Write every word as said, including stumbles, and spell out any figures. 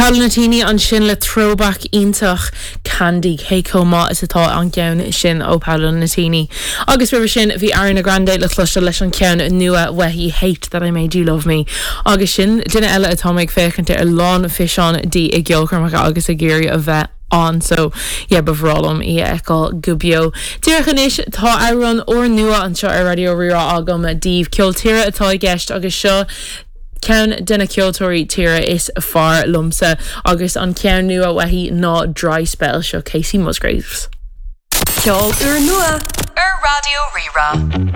Paolo Nutini ansin le throwback iontach Candy cé chomh maith is atá an ceann sin ó Paolo Nutini. Agus roimhe sin bhí Ariana Grande le cloisteáil leis an ceann nua uaithi Hate that I made you love me. Agus sin duine eile atá ag féachaint ar lán físeán di i gceolchoirmeacha agus ag iarraidh a bheith ann so yeah, ba bhreá liom í a fheiceáil go beo. Díreach anois tá amhrán úrnua anseo ar Raidió Rí-Rá agam daoibh ceol tíre atá i gceist agus seo ceann de na ceoltóirí tíre is fearr liomsa agus an ceann nua uaithi ná Dry Spell seo Kacey Musgraves. Ceol úrnua ar Raidió Rí-Rá.